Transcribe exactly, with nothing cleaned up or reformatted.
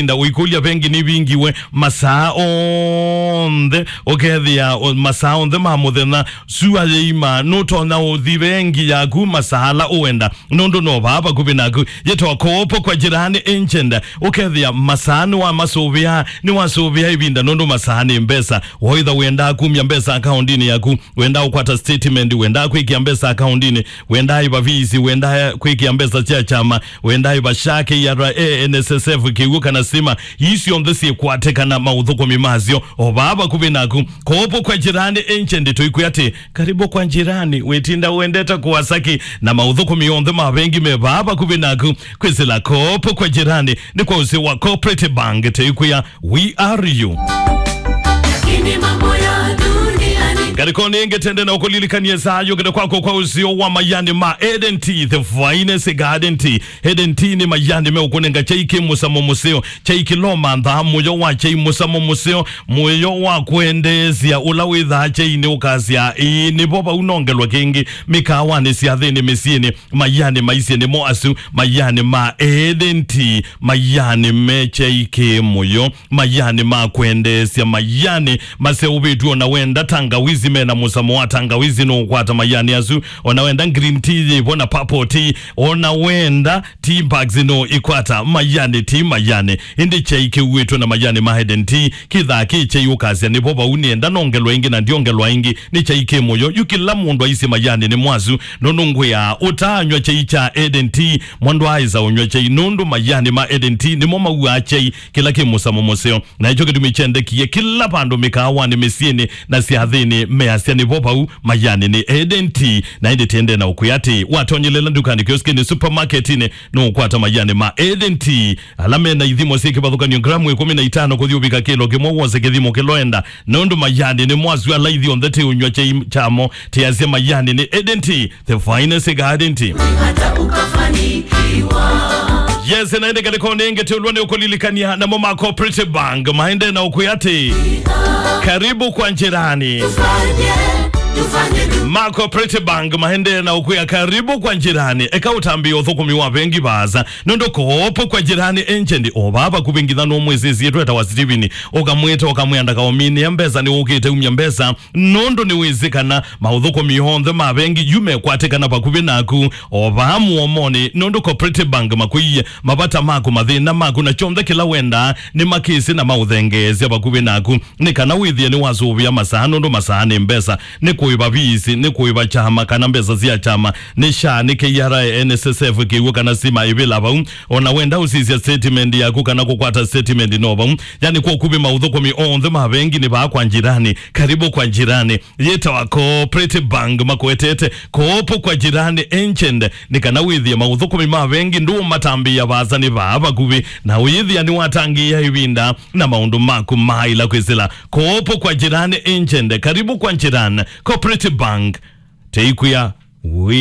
Nda ũikũlya vengi nĩvingiwe masaa onthe, ũkethĩa o-, masaa onthe ma mũthenya, sua yĩima, nũtonya ũthi vengi yaku masaa ala ũenda, nũndũ no vaa vakuvĩ naku. Yĩtawa Kopo kwa Jirani Agent, ũkethĩa masaa nĩwamasũvĩa, nĩwasũvĩa ĩvinda, nũndũ masaa nĩ mbesa. Waitha wendaa kumya mbesa akaundinĩ yaku, wendaa ũkwata statement, wendaa kwĩkĩa mbesa akaundinĩ, wendaa ĩva fees, wendaa kwĩkĩa mbesa sya kyama, wendaa ĩva SHA, K R A, N S S F, kĩw'ũ kana sima, ii syonthe syĩkwatĩkana maũthũkũmi masyo o vaa vakuvĩ naku. Kopo kwa Jirani Agent, tũikwĩa atĩ, karibu kwa jirani, wĩtinda wendete kũasaki na maũthũkũmi onthe ma vengi me vaa vakuvĩ naku. Kwĩsĩla Kopo kwa Jirani nĩ kwa ũsĩ wa Cooperative Bank, tũikwĩa, we are you. Lakini mambo ya duniani. Ngalĩkonĩ ĩngĩ tũendee na ũkũlilikany'a saa yũkĩte kwako kwa ũsĩ wa mayani ma Eden Tea, the finest garden tea. Eden Tea nĩ mayani meũkũnenga kyai kĩ mũsamo mũseo, kyai kĩlomanthaa mũyo wa kyai mũsamo mũseo, mũyo wa kwendeesya ũla wĩthaa kyai nĩ ũkasya, ĩĩ, nĩvo vau nongelwa kĩngĩ mĩkaawanĩ, syathĩnĩ, mĩsyĩnĩ, mayani maisye nĩmo asu, mayani ma Eden Tea, mayani me kyai kĩ mũyo, mayani ma kwendeesya, mayani maseũvĩtw'e. Ona wenda tangawizi, mena mũsamo wa tangawizi, nũũkwata mayani asu. Ona wenda green tea yĩvo na purple tea, ona wenda tea bags, nũũikwata mayani, ti mayani. Ĩndĩ kyai kĩuĩtwe na mayani ma Eden Tea, kĩthaa kĩ kyai ũkasya, nĩvo vau nĩenda nongelwa ĩngĩ na ndyongelwa ĩngĩ, nĩ kyai kĩ mũyo. Yu kĩla mũndũ aisye mayani nĩ mwasu, nũndũ ngwĩaa, ũtaanywa kyai kya Eden Tea, mwa ndwaaĩsa ũnyw'a kyai, nũndũ mayani ma Eden Tea nĩmo mauaa kyai kĩla kĩ mũsamo mũseo. Na ĩkyo kĩtumi kyendekie kĩla vandũ, mĩkaawanĩ, mĩsyĩnĩ, na syathĩnĩ, measya nĩvo vau, mayani nĩ Eden Tea. Na ĩndĩ tũendee na ũkwĩa atĩ, watonyelela ndukanĩ, kioskinĩ, supermarketinĩ, nũũkwata mayani ma Eden Tea, ala mena ithimo syĩ kĩvathũkany'o, gramu ĩkũmi na itano kũthi ũvika kĩlo kĩmwe, wose kĩthimo kĩla ũenda, nũndũ mayani nĩ mwasu. Ala ithyonthe tũũnyw'a kyai kyamo, tũasya mayani nĩ Eden Tea, the finest garden tea. Hata ukafanikiwa. Yes, na ĩndĩ ngalĩkonĩ ĩngĩ tũlwa nĩ ũkũlilikany'a namo ma Cooperative Bank maendee na ũkwĩa atĩ, karibu kwa jirani. Tufanye, tufanye tu. Ma Cooperative Bank maendee na ũkwĩa, karibu kwa jirani. Eka ũtambĩe ũthũkũmi wa vengi vaasa, nũndũ Kopo kwa Jirani Agent o vaa vakuvĩ. Ngitha nũmwĩsĩsye twetawa Steven, ũkamwĩta, ũkamwĩa ndakaũminĩe mbesa, nĩwũkĩte umya mbesa, nũndũ nĩwĩsĩ kana maũthũkũmi onthe ma vengi yu mekwatĩkana vakuvĩ naku o vaa mũomonĩ, nũndũ Cooperative Bank makwĩie mavata maku, mathĩna maku, na kyonthe kĩla wendaa nĩmakĩsĩ na maũthengeesya vakuvĩ naku, nĩ kana wĩthĩe nĩwasũvĩa masaa, nũndũ masaa nĩ mbesa, nĩ kũĩva fees, nĩ kũĩva kyama kana mbesa sya kyama, nĩ SHA, nĩ K R A, N S S F, kĩw'ũ kana sima ĩvĩla vau. Ona wenda ũsisya statement yaku kana kũkwata statement, no vau. Yani, kwa ũkuvĩ maũthũkũmi onthe ma vengi nĩ vaa kwa jirani, karibu kwa jirani. Yĩtawa Cooperative Bank, makwetete Kopo kwa Jirani Agent, nĩ kana wĩthĩe maũthũkũmi ma vengi ndũũmatambĩĩa vaasa, nĩ vaa vakuvĩ, na ũyĩthĩa nĩwatangĩĩa ĩvinda na maũndũ maku maĩla kwĩsĩla. Kopo kwa Jirani Agent, karibu kwa jirani. Cooperative Bank, tũikwĩa, we